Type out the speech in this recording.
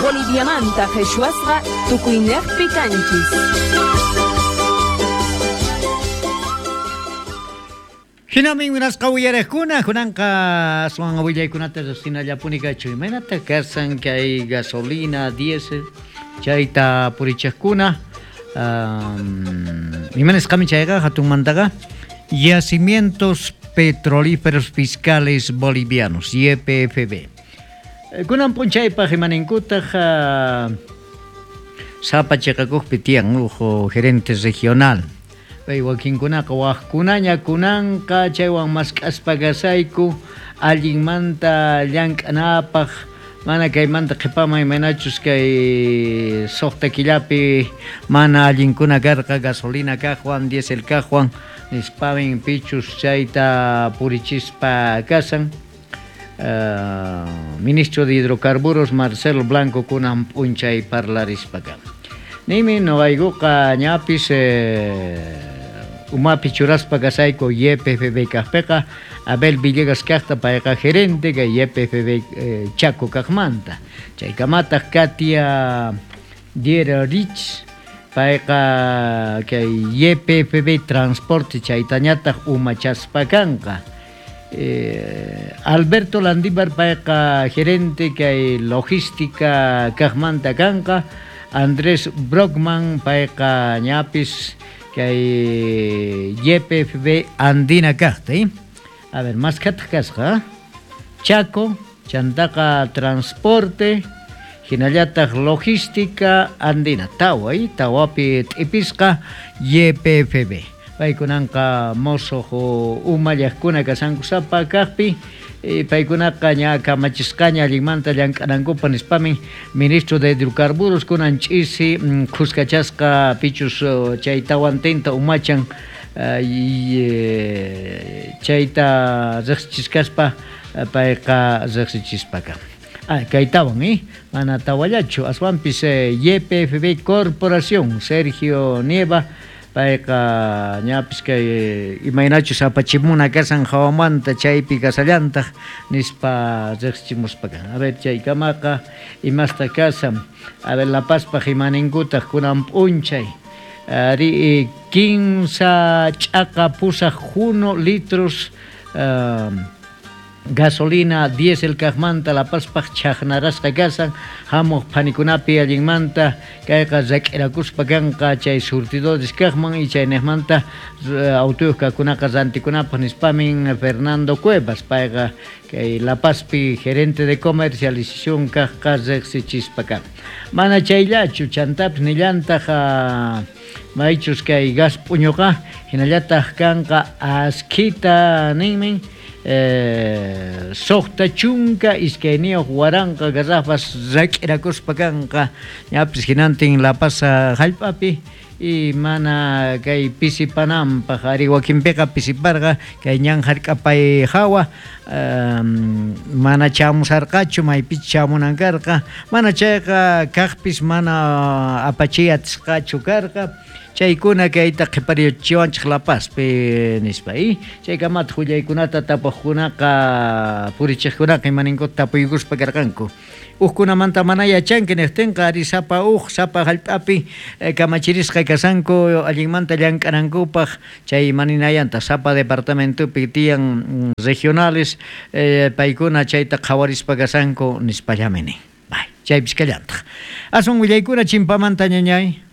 Boliviamanta qheshwasqa tukuynejpi kanchis. Hinamin munasqa uyariqkuna, kunanqa aswan willaykunata riqsinallapuni kachu. Imaynata kasan kay gasolina, diésel chayta purichiqkuna? Ima nisqami chayqa hatunmantaqa? Yacimientos Petrolíferos Fiscales Bolivianos, YPFB. Kunan p'unchaypaq imaninkutaq sapa chiqakuqpi tiyan uj gerente regional. Pay wakinkunaqa wajkunaña kunanqa chaywan mask'aspa kasayku allinmanta llank'anapaq mana kaymanta qhipaman imaynachus kay suqta killapi mana allinkuna karqa gasolina kaqwan diésel kaqwan nispamin pichus chayta purichispa kasan. Ministro de Hidrocarburos Marcelo Blanco kunan p'unchay parlarispa kan. Nimi noqaykuqa ñapis umapi churaspa kasayku YPFB kaqpiqa Abel Villegas kaqta payqa gerente kay YPFB Chaco kaqmanta. Chaykamataq Katia Dieterich payqa kay YPFB Transporte chaytañataq umachaspa kanqa. Alberto Landívar payqa gerente kay logística kaqmanta kanqa. Andrés Brockman payqa ñapis kay YPFB Andina kaqta. A ver, maskhataq kasqa. Chaco, chantaqa transporte, hinallataq logística andina, tawa, tawapi t'ipisqa YPFB. Paykunanqa mosoq umallaqkuna kasankusapa kaqpi, paykunaqa ña kamachisqaña allinmanta llank'anankupaq nispamin ministro de Hidrocarburos kunan ch'isi khuskachasqa pichus chay tawantinta umachan chayta riqsichiskaspa payqa riqsichispa kan. Ah, kaytawan, mana tawallachu, aswanpis YPFB Corporación, Sergio Nieva, payqa ñapis kay imaynachus apachimuna kasan hawamanta chaypi kasallantaq nispa riqsichimuspa kan. A ver, chaykamaqa imasta kasan. A ver, La Pazpaq imaninkutaq kunan p'unchay. Ari 15 ch'aqa pusaq juno litros gasolina diésel kaqmanta La Pazpaq chhaqnarasqa kasan hamuq phanikunapi allinmanta kayqa rak'irakuspa kanqa chay surtidores kaqman y chayniqmanta autuyuq kaqkunaqa rantikunapaq nispamin Fernando Cuevas payqa kay La Pazpi gerente de comercialización kaqqa riqsichispa kan. Mana chayllachu chantapis nillantaq maychus kay gas p'uñuqa hinallataq kanqa askhita ninmin 62 waranqa garrafas rak'irakuspa kanqa ñapis hinantin La Paz hallp'api y mana kay pisipananpaq ari wakinpiqa pisiparqa kay ñan hark'apay hawa mana chamusarqachu maypichus chamunan karqa mana chayqa kaqpis mana apachiy atisqachu karqa chaykuna kayta qhiparichiwanchik La Pazpi nispa chaykamataq willaykunata tapuqkunaqa purichiqkunaqa imaninkuta tapuykuspa karqanku. Ujkunamanta mana yachanki niqtinqa ari sapa uj sapa hallp'api kamachirisqa kasanku allinmanta llank'anankupaq chay maninayanta sapa departamentopi tiyan regionales paykuna chayta qhawarispa kasanku nispallami nin. Bay, chaypis kallantaq. Aswan willaykuna chimpamanta ñañay.